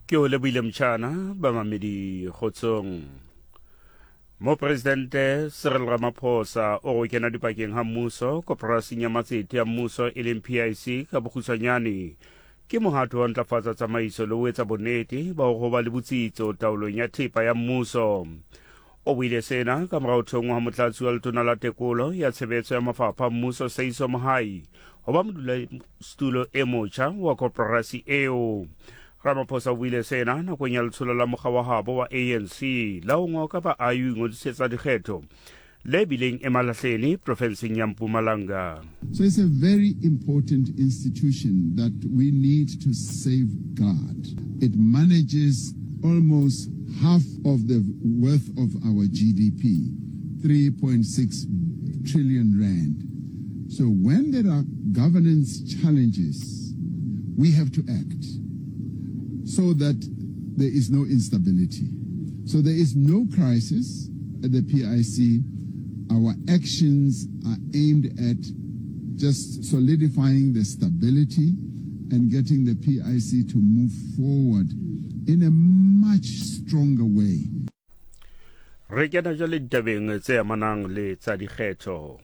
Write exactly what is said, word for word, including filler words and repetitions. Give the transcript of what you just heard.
Ke o lebohile motšhana bamamedi kgotsong. Mopresidente Cyril Ramaphosa o go kena dipakeng ga mmuso koporasing ya matsete ya mmuso e leng P I C ka bokgutshwanyane ke mohato wa ntlafatsa tsamaiso le ho etsa bonnete ba ho ba le botsitso taolong ya thepa ya mmuso. O buile sena ka morao thongwa ha motlatsi wa letona la tekolo ya tshebetso ya mafapha a mmuso Seiso Mohai ho ba modulasetulo e motjha wa koporasi eo. Ramaphosa o buile sena nakong ya letsholo la mokga wa habo wa A N C la ho ngoka baahi ho ingodisetsa dikgetho le bileng Emalahleni profenseng ya Mpumalanga. So it's a very important institution that we need to safeguard. It manages almost half of the worth of our G D P, three point six trillion rand. So when there are governance challenges, we have to act so that there is no instability. So there is no crisis at the P I C. Our actions are aimed at just solidifying the stability and getting the P I C to move forward in a much stronger way. Re kena jwale ditabeng tse amanang le tsa dikgetho.